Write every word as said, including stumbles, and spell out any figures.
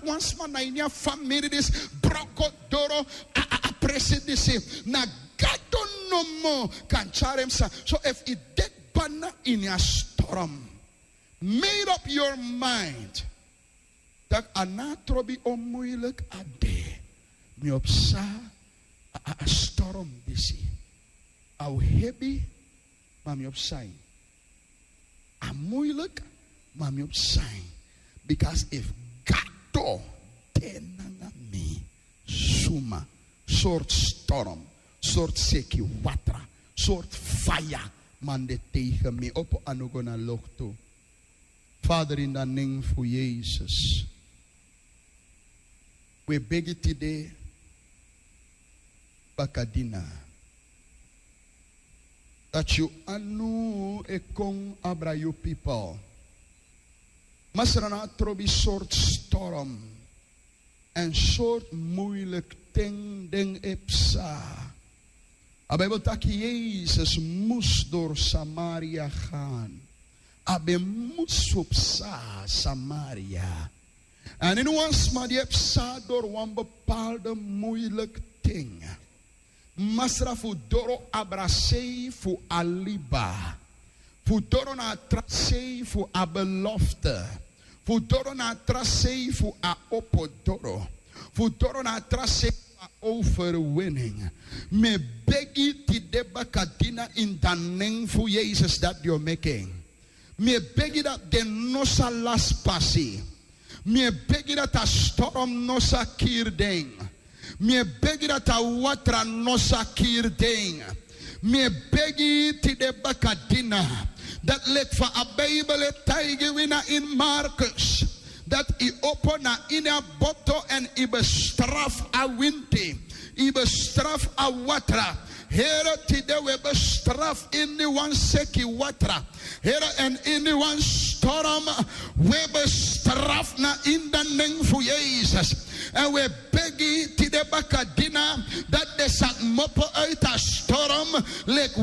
wan sma na ini a famiri disi broko doro a presi disi. Na gado nomo kan tyari en psa. So efu yu de kba na ini a storm, made up your mind tak' a no a trobi o muilik a de. Mi o psa a storm disi. A o hebi, ma mi o psa en. A muilik, ma mi o psa en. Bikasi efu gado de nanga mi, suma sortu storm, sortu seki watra, sortu faya man de teige mi? Opo anu go na loktu. Fader, ini a nen fu yesus, wi e begi tide bakadina dati yu anu e kon abra yu pipel. Masra, na a trobi sortu storm èn sortu muiliki ten den e psa. A bibel taki yesus mus dori samaria gaan. A ben mus fu psa samaria. Èn ini wan sma di e psa dori wan bepalde muiliki ten, masra, fu doro abrasei fu a liba, fu doro na a tra sei fu a belofte, fu doro na a tra sei fu a opo doro, fu doro na a tra sei fu a overwinning. Mi e begi tide bakadina ini a nen fu yesus dati di o meke en. Mi e begi dati den no sa lasi pasi. Mi e begi dati a storm no sa kiri den. Mi e begi dati a watra no sa kiri den. Mi e begi tide bakadina dati leki fa a bibel e taigi wi na ini markus, dati yu opo na ini a boto èn yu bestrafu a winti, yu bestrafu a watra. Here, tide wi e bestrafu ini wan seki watra. Here, èn ini wan storm wi e bestrafu na ini a nen fu yesus. Èn wi e begi tide bakadina dati den sa kmopo uiti a storm leki